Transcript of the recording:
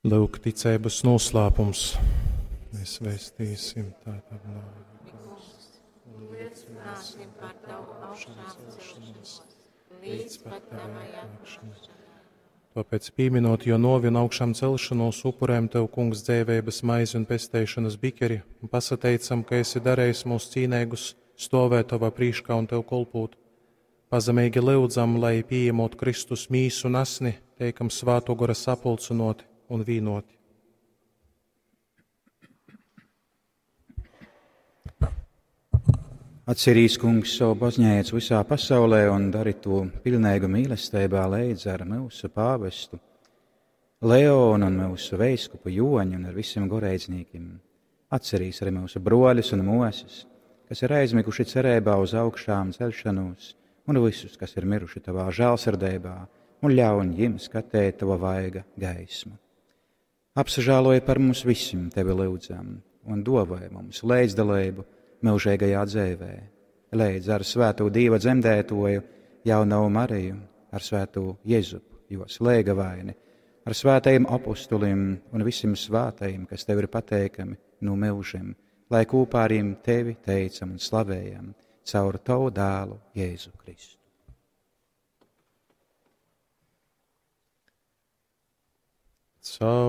Lūk, ticeibas noslēpums. Mēs vēstīsim tātad nāvi, Kungs, un liecināsim par tavu augšāmcelšanos līdz pat tavai atnākšanai. Tāpēc, pieminot jo novi un augšām celšanos, upurējam Tev, Kungs, dzēveibas maizi un pesteišanas bikeri, un pasateicam, ka esi darējis mūs cīneigus stovēt Tavā prīškā un Tev kolpūt. Pazemīgi lyudzam, lai pieņemot Kristus mīsu un asni, teikam svāto gora sapulcinoti un vīnoti. Atcerīs, kungs, savu baznīcu visā pasaulē un dari to pilnīgu mīlestībā leidz ar mūsu pāvestu Leonu un mūsu veiskupu Joņu un ar visiem goreizniekiem. Atcerīs arī mūsu broļus un mosas, kas ir aizmiguši cerībā uz augšām celšanos, un visus, kas ir miruši tavā žēlsirdībā, un ļauj jiem skatēt tava vaiga gaismu. Apsažāloja par mums visiem, tevi lūdzam, un dāvāja mums līdzdalību mūžīgajā dzīvē, līdz ar svēto Dieva dzemdētoju jauno Mariju, ar svēto Jēzupu, jo slēgavaini, ar svētajiem apustulim un visiem svētajiem, kas tev ir pateikami no mūžiem, lai kopā ar viņiem tevi teicam un slavējam caur tavu dēlu Jēzu Kristu. Caur